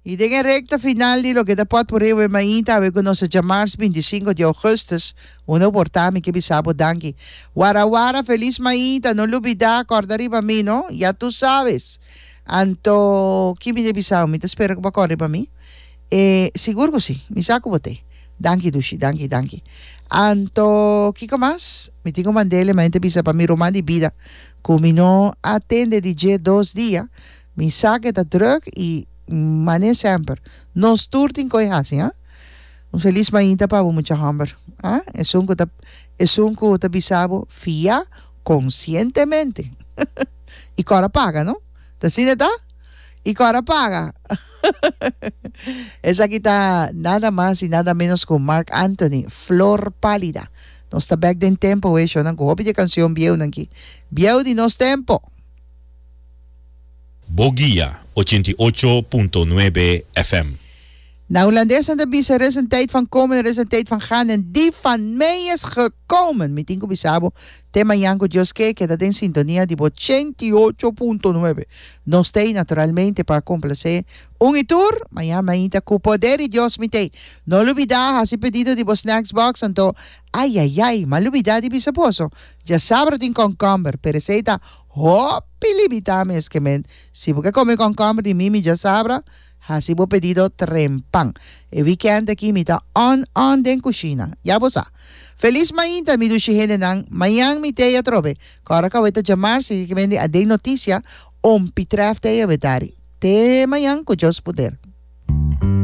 I den e rekta final di loke ta Potpourri awe mainta awe ku nos ta djamars 25 di ougùstùs, unda bo por ta mi ke bisa bo danki. Wara wara felis mainta, no lubidá kòrda riba mi no, ya tu sabes. Anto ki mi ta bisa bo, mi ta spera ku bo a kòrda riba mi. E sigur ku si, mi sa ku bo t'ei. Danki dushi, danki danki. Anto kiko mas? Mi tin ku mand'el e mainta bisa pa mi ruman di bida ku mi no a tende di dje dos dia. Mi sa ke ta druk i mane semper. Nos tur tin koe hasi, ha? Un felis mainta pa bo mucha homber, ha? Esun ku ta esun ku ta bisa bo fia konsientemente. I kòrda paga, no? Ta asina ta? I kòrda paga. Esaki ta nada mas i nada menos ku Marc Anthony, Flor Pálida. Nos ta bèk den tempo we, shownan ku hopi di e kansion bieunan ki. Bieu di nos tempo! Bo guia, 88.9 FM. Na Hulandes nan ta bisa er is een tijd van komen, er is een tijd van gaan en die van mij is gekomen. Mi tin ku bisa bo, te mañan ku Dios ke, keda den sintonia di bo 88.9. Nos t'ei naturalmente pa komplasé un i tur. Mañan mainta ku poder di Dios mi t'ei. No lubidá hasi pedido di bo snacks box anto ayayay, m'a lubidá di bisa boso, djasabra tin kònkòmber, pero esei ta Hopi limitá mes ke men. Si bo ke kome kònkòmber di mi, mi djasabra, hasi bo pedido trempan. E wikènt aki mi ta on on den kushina. Ya bo sa. Felis mainta mi dushi hendenan. Mañan mi t'ei atrobe. Kòrda ku awe ta djamars i ke men di aden notisia, ompi trèf t'ei awe tari. Te mañan ku Dios poder.